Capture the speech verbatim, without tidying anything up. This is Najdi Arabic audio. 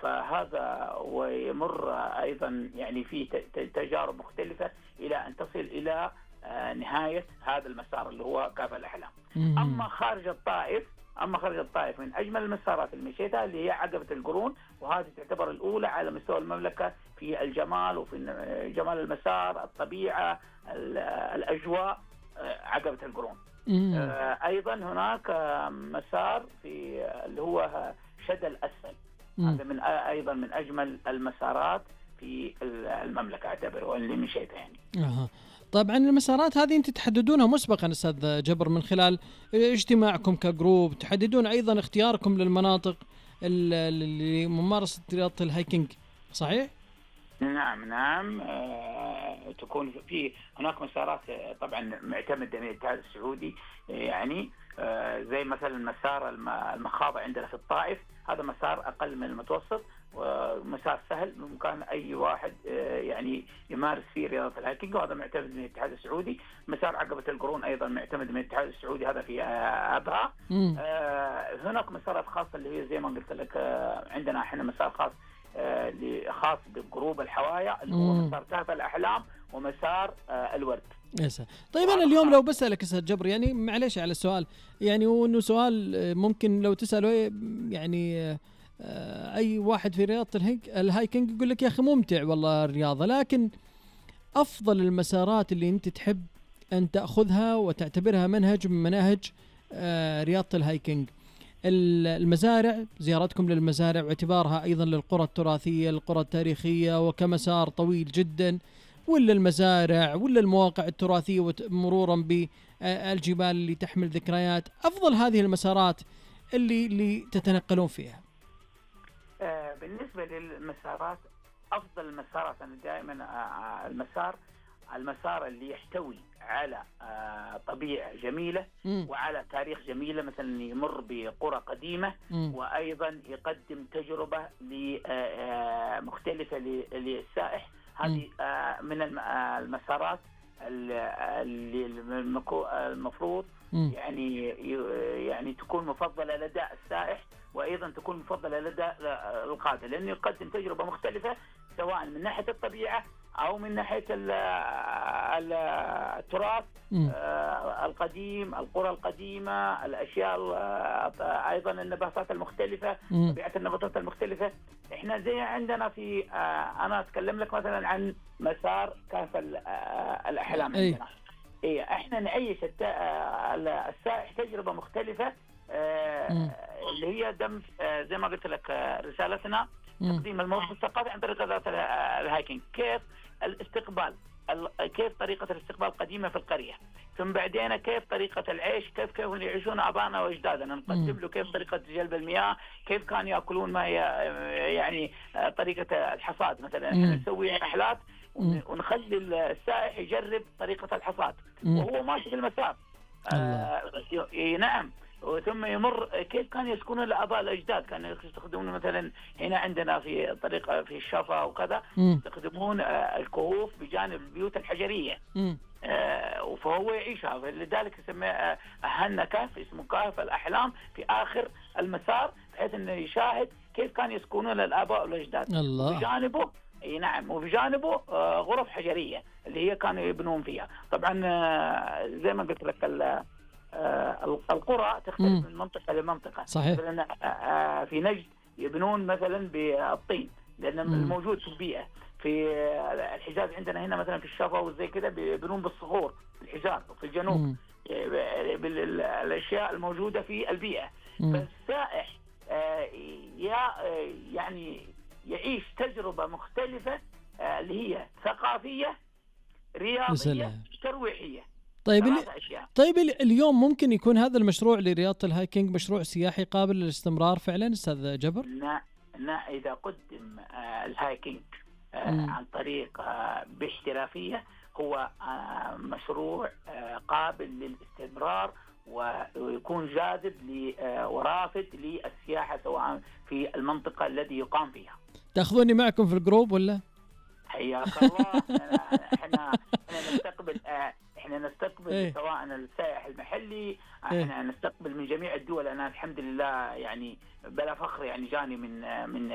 فهذا ويمر أيضا يعني في تجارب مختلفة إلى أن تصل إلى نهاية هذا المسار اللي هو كهف الأحلام. أما خارج الطائف أما خارج الطائف من أجمل المسارات اللي مشيتها اللي هي عقبة القرون، وهذه تعتبر الأولى على مستوى المملكة في الجمال وفي جمال المسار، الطبيعة، الأجواء، عقبة القرون. أيضا هناك مسار في اللي هو شدى الأسفل، هذا من أيضا من أجمل المسارات في المملكة أعتبره اللي مشيتها يعني. أه. طبعا المسارات هذه انت تحددونها مسبقا استاذ جبر من خلال اجتماعكم كجروب، تحددون ايضا اختياركم للمناطق لممارسة رياضة الهايكينج، صحيح؟ نعم نعم. آه، تكون في هناك مسارات طبعا معتمدة من الاتحاد السعودي، يعني آه، زي مثلا مسار المخاضة عندنا في الطائف، هذا مسار أقل من المتوسط ومسار سهل بإمكان أي واحد يعني يمارس فيه رياضة الهايكينج، وهذا معتمد من الاتحاد السعودي. مسار عقبة القرون أيضا معتمد من الاتحاد السعودي، هذا في أبها. آه هناك مسارات خاصة اللي هي زي ما قلت لك، آه عندنا احنا مسار خاص آه خاص بجروب الحوايا اللي هو مسار كهف الأحلام ومسار آه الورد. يسا. طيب أنا اليوم لو بسألك أستاذ جبر، يعني معلش على السؤال، يعني وإنه سؤال ممكن لو تسأله يعني أي واحد في رياضة الهايكينج يقول لك يا أخي ممتع والله الرياضة، لكن أفضل المسارات اللي أنت تحب أن تأخذها وتعتبرها منهج من مناهج رياضة الهايكينج، المزارع، زيارتكم للمزارع واعتبارها أيضا للقرى التراثية القرى التاريخية وكمسار طويل جدا، ولا المزارع ولا المواقع التراثية مرورا بالجبال اللي تحمل ذكريات، أفضل هذه المسارات اللي اللي تتنقلون فيها؟ آه بالنسبة للمسارات، أفضل المسارات أنا دائما آه المسار المسار اللي يحتوي على آه طبيعة جميلة م. وعلى تاريخ جميلة، مثلا يمر بقرى قديمة م. وأيضا يقدم تجربة مختلفة للسائح. هذه آه من المسارات اللي المفروض م. يعني يعني تكون مفضلة لدى السائح، وأيضا تكون مفضلة لدى القادة، لأنه يقدم تجربة مختلفة سواء من ناحية الطبيعة أو من ناحية التراث القديم، القرى القديمة، الأشياء أيضا النباتات المختلفة، طبيعة النباتات المختلفة. إحنا زي عندنا في أنا أتكلم لك مثلا عن مسار كهف الأحلام عندنا. إيه إحنا نعيش السائح تجربة مختلفة اللي هي دم زي ما قلت لك رسالتنا تقديم الموقف الثقافي عن طريق رياضة الهايكينج. كيف الاستقبال، كيف طريقة الاستقبال القديمة في القرية، ثم بعدين كيف طريقة العيش، كيف كيف يعيشون آبائنا وأجدادنا، نقدم له كيف طريقة جلب المياه، كيف كانوا يأكلون ما يعني طريقة الحصاد مثلا. احنا نسوي رحلات ونخلي السائح يجرب طريقة الحصاد وهو ماشي في المسار. آه نعم. وثم يمر كيف كانوا يسكنون الآباء الأجداد، كانوا يستخدمون مثلا هنا عندنا في طريقة في الشفا وكذا يستخدمون الكهوف بجانب البيوت الحجرية، آه فهو يعيشها، لذلك يسمى أهلنا كهف، اسمه كهف الأحلام في آخر المسار، بحيث أنه يشاهد كيف كانوا يسكنون الآباء والأجداد. بجانبه اي نعم، وبجانبه آه غرف حجرية اللي هي كانوا يبنون فيها. طبعا آه زي ما قلت لك آه القرى تختلف من منطقة لمنطقة. صحيح. مثلا آه في نجد يبنون مثلا بالطين لأنه الموجود في البيئة. في الحجاز عندنا هنا مثلا في الشفا وزي كده بيبنون بالصخور في الحجاز، وفي الجنوب بالأشياء الموجودة في البيئة. فالسائح آه يعني يعيش تجربة مختلفة آه اللي هي ثقافية، رياضية، ترويحية. طيب طيب اليوم ممكن يكون هذا المشروع لرياضة الهايكينج مشروع سياحي قابل للاستمرار فعلا أستاذ جبر؟ لا لا، إذا قدم آه الهايكينج آه عن طريق آه باحترافية هو آه مشروع آه قابل للاستمرار ويكون جاذب ورافد للسياحة سواء في المنطقة التي يقام فيها. تأخذوني معكم في الجروب ولا؟ حياك الله. احنا احنا نستقبل احنا نستقبل ايه؟ سواء السائح المحلي احنا ايه؟ نستقبل من جميع الدول. انا الحمد لله يعني بلا فخر يعني جاني من من